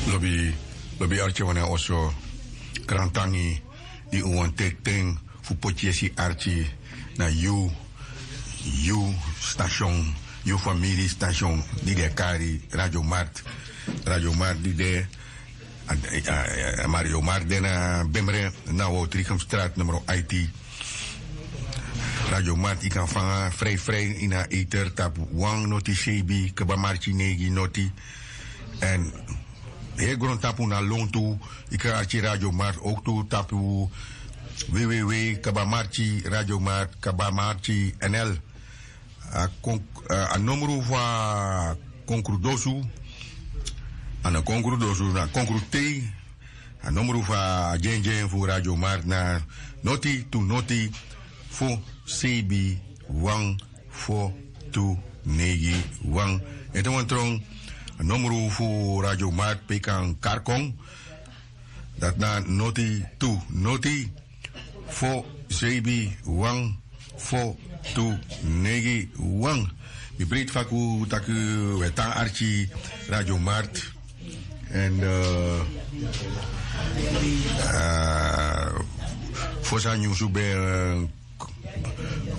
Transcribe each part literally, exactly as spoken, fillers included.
Lobi, lobi arki wan na oso. Krantangi di un wani teki ten fu poti yesi arki na yu, yu station, yu famiri station di den e kari Radio Mart. Radio Mart di de, a, a, a, Radio Mart de na Bemre, na Woutrichem Straat nummer I T. Radio Mart, yu kan fanga frei frei ini a ether tapu wan noti seibin kaba marki neigi noti. Èn heri grontapu na lontu, yu kan arki Radio Mart ook tu tapu www kaba marki Radio Mart kaba marki N L. A kon-, a, a nomru fu a konkru dosu, a no konkru dosu, na konkru tei. A nomru fu a dyengen fu Radio Mart na noti tu noti fo seibin wan fo tu neigi wan. Ete wan tron, a nomru fu Radio Mart pe yu kan kari kon, dati na noti tu noti fo seibin wan fo tu neigi wan. Mi breiti faku taki we tan arki Radio Mart. Èn, eh, eh, fosi a nyunsu ben, eh,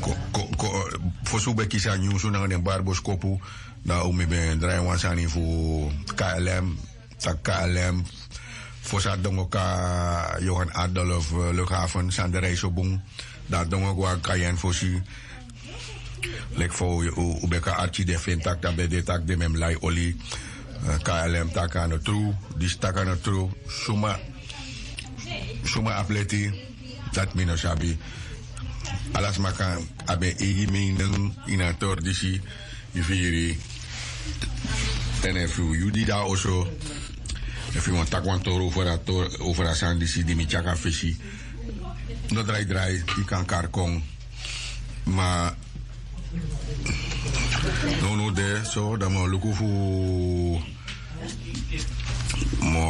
ko, ko, ko, fosi un ben kisi a nyunsu nanga den bari boskopu, dan un mi ben drai wan sani fu K L M, taki K L M, fosi a dongo kon na Johan Adolf, eh, Luchthaven, san den reis so bun, dan a dongo go na Cayenne fosi. Leki fa un, un, un ben kan arki den feni taki dan ben de taki den ben mus lai oli, eh, K L M taki a no tru, disi taki a no tru, suma, suma abi leti, dati mi no sabi. Ala sma kan abi en eigi mening ini a tori disi, yu firi. Èn efu yu di de na oso, efu yu wani taki wan tori over a tor-, over a sani disi di mi tyari na fesi, no drai drai, yu kan kari kon. Ma nownow de so, dan mi o luku fu mi o,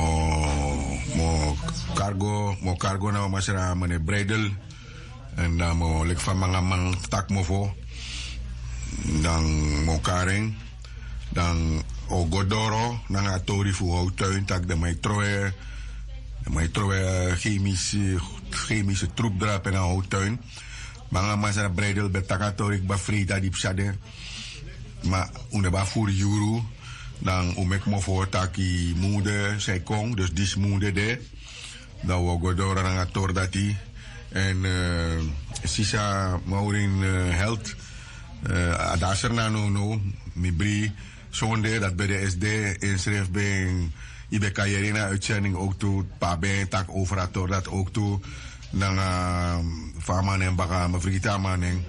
mi o kari go, mi o kari go na wan masra, meneer Breidel. Èn dan mi o, leki fa mangaman taki mofo, dan mi o kari en, dan o go doro nanga a tori fu Houtuin, taki den man e trowe, den man e trowe chemische, chemische troep drape na Houtuin. Mangaman, masra Breidel ben taki a tori kba, freida di psa de. Ma un no ben abi furu yuru, dan un meki mofo taki mun de san e kon, dus disi mun de de. Dan un o go doro nanga a tori dati. Èn, eh, sisa Maureen, eh, Health, eh, a de na Sranan nownow, mi bri, sonde dati ben de S D, ensrefi ben, yu ben kan yere ini a uitzending ook tu, pe a ben taki over a tori dati ook tu, nanga, fa a man nen baka, mi frigiti a man nen.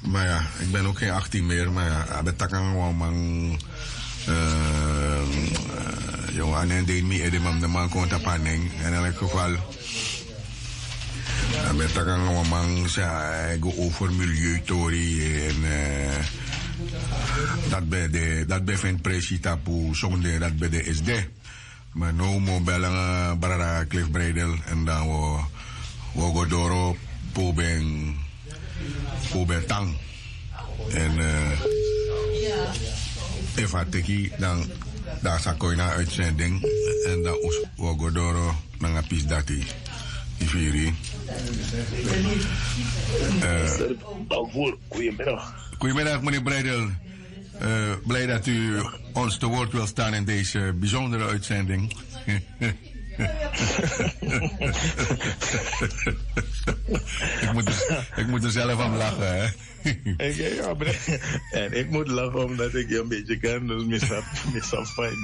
Maar ja, ik ben ook geen achttien meer, maar ja, a ben taki nanga wan man, eh, eh, yu, a nen de ini mi ede, ma mi no man kon tapu a nen. In elk geval, a ben taki nanga wan man san e go over milieutori, èn, eh, dati ben de, dati ben feni presi tapu sonde, dati ben de S D. Ma now mi o bel nanga brada Cliff Breidel, èn dan wi o, wi o go doro pe un ben, pe un ben tan. Èn, eh, efu a teki, dan, dan a sa kon ini a uitzending, èn dan un, wi o go doro nanga pisi dati. Yu firi? Eh, Goedemiddag. Goedemiddag, meneer Breidel. Eh, blij dat u ons te woord wilt staan in deze bijzondere uitzending. Ik moet er, ik moet er zelf om lachen, hè? Ik, ja, bre-, en ik moet lachen omdat ik je een beetje ken, dus mi sa, mi sa fijn.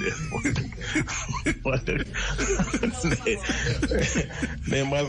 Nee. Nee, maar